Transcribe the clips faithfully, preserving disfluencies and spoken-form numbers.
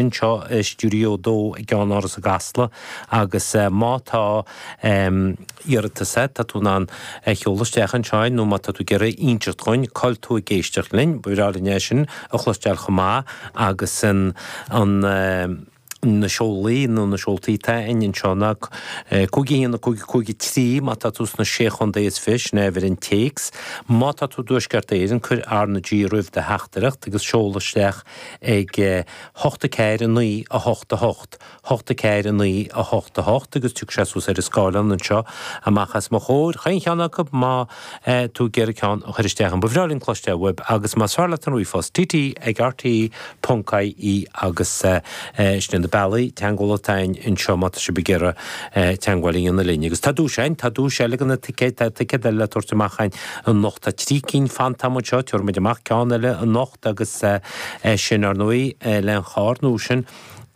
anseo i Stiúideo a dó i gCeannáras i gCasla agus má tá iarratas agat, tá tú in ann é a sheoladh isteach anseo nó má tá tú ag iarraidh inseacht dhúinn cá bhfuil tú ag éisteacht linn, ba bhreá linn é sin a chloisteáil chomh maith agus an an na seolaí nó na seoltaí atá againn anseo ná cúig a haon a cúig cúig a trí má tá tú sna Sé Chontae is Fiche, sin é uimhir an téacs. Má tá tú i dTuaisceart Éireann, cuir R na G roimh do theachtaireacht agus seol isteach ag hocht a ceathair a naoi a hocht a hocht, hocht a ceathair a naoi a hocht a hocht agus tiocfaidh sé suas ar an scáileán anseo amach as mo chomhair. Chaon cheann acu má tú ag iarraidh ceann a chur isteach. Ba bhreá linn cloisteáil uaibh agus más fearr leat an ríomhphost, T T ag R T E ponc I E agus sin na bealaí teagmhála atá againn anseo má tá sibh ag iarraidh teagmháil a dhéanamh linn. Agus tá duais againn, tá duais eile de na ticéid, tá ticéad eile le tabhairt amach againn anocht. Tá trí cinn fanta agam anseo, tabharfaidh muid amach ceann eile anocht agus sin ar ndóigh le an charr nua sin,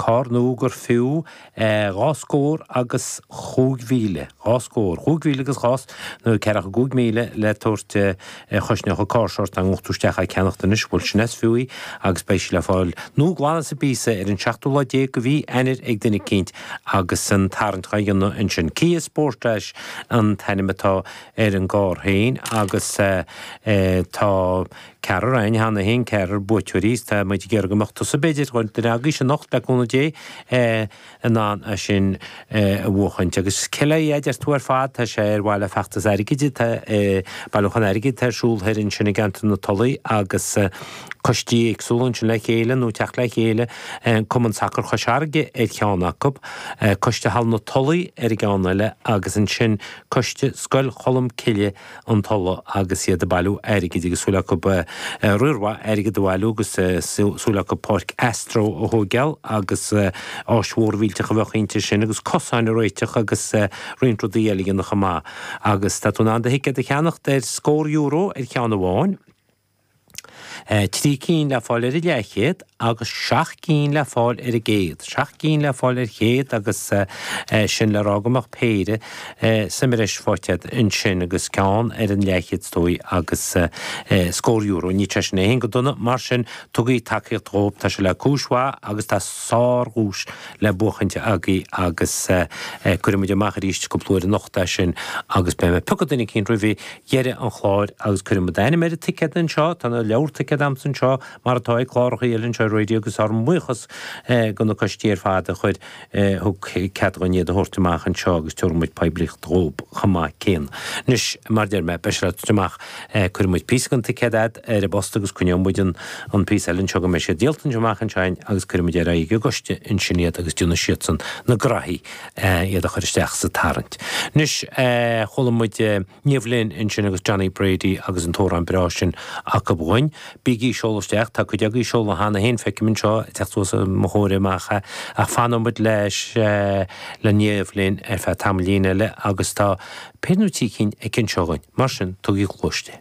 carr nua gur fiú dhá scór agus chúig mhíle, dhá scór, chúig mhíle agus dhá, nó ceathracha cúig míle le tabhairt chosnódh an carr seo ort dá ngabhfadh tú isteach á ceannacht anois, bhuel sin as fiú í agus beidh sí le fáil nua glan as an bpíosa ar an seachtú lá déag de mhí Eanáir ag duine eicínt agus an tarraingt á dhéanamh ansin. Kia Sportage an t-ainm atá ar an gcarr féin agus tá ceathrar againn cheana féin, ceathrar buaiteoirí, is tá muid ag iarraidh go mbeadh tusa b'fhéidir, duine agaibhse anocht le cúnamh Dé, in ann é sin a bhuachaint. Agus cé le a deir tú ar fad, tá sé ar mhaithe le feachtas airgid, tá bailiúchán airgid atá ar siúl thoir ansin i gceantar na Tulaí agus coistí éagsúla ansin le chéile nó teacht le chéile, Cumann Sacair Chois Fharraige ar cheann acu, Coiste Halla na Tulaí ar an gceann eile agus ansin Coiste Scoil Cholm Cille an Tulaigh agus iad ag bailiú airgid agus súil acu riar mhaith airgid a bhailiú agus súil acu páirc Astro a thóigeáil agus áis mhór mhillteach a bheadh inti sin agus cosáin a réiteach agus roinnt rudaí eile a dhéanamh chomh maith. Agus tá tú in ann do thicéad a cheannacht ar scór euro ar cheann amháin, trí cinn le fáil ar an leathchéad agus seacht gcinn le fáil ar an gcéad. Seacht gcinn le fáil ar chéad agus sin le rá go mbeadh péire sa mbreis faighte agat ansin agus ceann ar an leathchéad is dóigh agus scór euro. Níl sé sin é féin go dona, mar sin tugaigí tacaíocht dhóibh, tá sé le cúis mhaith agus tá sárdhuais le buachaint agaibh agus cuirfidh muid amach arís cúpla uair anocht é sin agus beidh mé ag piocadh duine eicínt roimh dheireadh an chláir agus cuirfidh muid d'ainm ar an ticéad anseo, tá na leabhar ticéad a'msa anseo mar atá ag cláracha eile anseo ar raidió agus ár mbuíochas do na coistí ar fad a chuir thug cead dhúinn iad a thabhairt amach anseo agus tabharfaidh muid poiblíocht dhóib chomh maith céanna. Anois, mar deir mé, beidh sé le tabhairt amach, cuirfidh muid píosa den ticéad a'd ar an bpost agus coinneoidh muid an an píosa eile anseo go mbeidh siad díolta anseo amach anseo agus cuirfidh muid ar aghaidh ag an gcoiste ansin iad agus déanfaidh siadsan na graithí iad a chur isteach sa tarraingt. Anois, chuala muid Niamh Lynn ansin agus Johnny Brady agus an t-amhrán breá sin acu dhúinn. Bígí ag seoladh isteach, tá cuid agaibh ag seoladh cheana féin, feicim anseo ag teacht suas mo chomhair amach é, ach fanfaidh muid leis le Niamh Lynn ar feadh tamaillín eile agus tá péire nó trí cinn aici anseo dhúinn, mar sin tugaigí cluas di.